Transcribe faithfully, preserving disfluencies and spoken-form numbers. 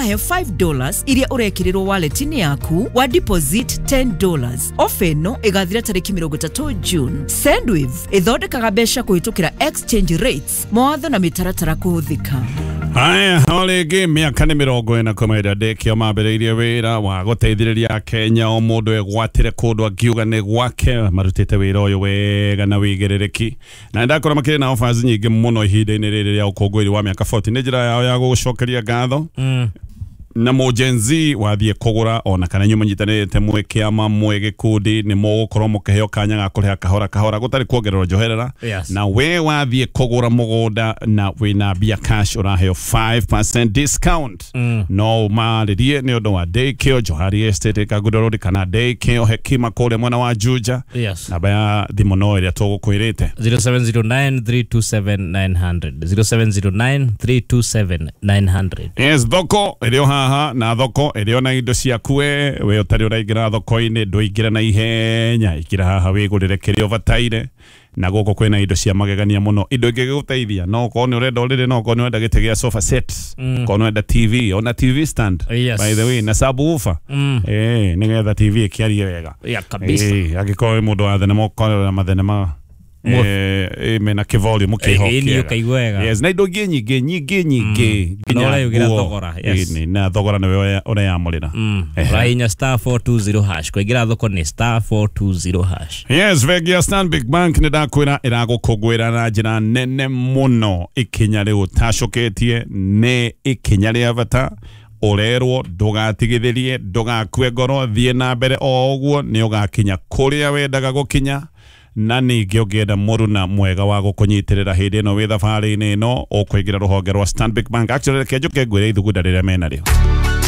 Ũraheo five dollars iria ũrekĩrĩrwo wallet-inĩ yaku wa deposit ten dollars. Ofa ĩno ĩgathira tarĩki mĩrongo ĩtatũ June. Sendwave ĩthondekaga mbeca kũhĩtũkĩra exchange rates, mawatho na mĩtaratara kũhũthĩka. Haya, o rĩngĩ mĩaka nĩ mĩrongo ĩna kuma ĩrĩa Ndekio mambĩrĩirie wĩra wa gũteithĩrĩria Kenya o mũndũ egwatĩre kũndũ akiuga nĩ gwake. Marutĩte wĩra ũyũ wega na wĩigĩrĩrĩki, na nĩndakora makĩrĩ na offers nyingĩ mũno ihinda-inĩ rĩrĩ rĩa ũkũngũĩri wa mĩaka mĩrongo ĩna. Nĩ njĩra yao ya gũgũcokeria ngatho Mm. na mũ Gen Z wathiĩ kũgũra ona kana inyuĩ mũnyitanĩrĩte mwĩ kĩama mwĩ gĩkundi, nĩ mũgũkorwo mũkĩheo kanya ga kũrĩha kahora kahora gũtarĩ kuongererwo njoherera. Yes. Na we wathiĩ kũgũra mũgũnda na wĩna mbia cash, ũraheo five percent discount. Mm. No ũmarĩrie nĩ ũndũ wa Daycare Johari Estate Kangundo Road kana Daycare Hekima kũrĩa mwena wa Juja. Yes. Namba ya thimũ no ĩrĩa tũgũkwĩrĩte. zero seven zero nine three two seven nine hundred, zero seven zero nine three two seven nine hundred. Yes, thoko ĩrĩ o haha na thoko ĩrĩ o na indo ciaku. we we ũtarĩ ũraingĩra thoko-inĩ, ndũingĩra na ihenya, ingĩra haha wĩgũrĩre kĩrĩa ũbataire, na gũkũ kwĩna indo cia magegania mũno, indo ingĩgũteithia. No okorwo nĩ ũrenda ũrĩrĩ, no okorwo nĩ ũrenda gĩtĩ gĩa sofa set, Mm. okorwo nĩ ũrenda T V, ona T V stand, Yes. by the way, na subwoofer, Mm. eh nĩgetha T V ĩkĩarie wega. Ya kabisa. Eh, angĩkorwo wĩ mũndũ wa thenema, ũkorera mathenema Mo- eh, eh, mena kĩvolume Eh, kĩho ĩni kĩega. ũkaigua wega. Yes, na indo ingĩ nyingĩ nyingĩ nyingĩ. Na ũreyugĩra nguo. thogora, yes. Ĩni, na thogora nĩwe ũreyamũrĩra. Mm. Ehe. Ũrahihinya star four two zero hash kũingĩra thoko, nĩ star four two zero hash. Yes, bengi ya Stanbic Bank nĩ ndakwĩra ĩragũkũngũĩra na njĩra nene mũno. Ikinya rĩu ũtacũkĩtie nĩ ikinya rĩa bata. Ũrerwo ndũgatigithĩrie, ndũgakue ngoro, thiĩ na mbere o ũguo, nĩ ũgakinya kũrĩa wendaga gũkinya. Na ningĩ ũngĩenda mũruna mwega wa gũkũnyitĩrĩra hĩndĩ ĩno wĩ thabarĩ-inĩ ĩno, ũkũingĩra rũhonge rwa Stanbic Bank. Actually, reke njũke ngwĩre ithugunda rĩrĩa menarĩo.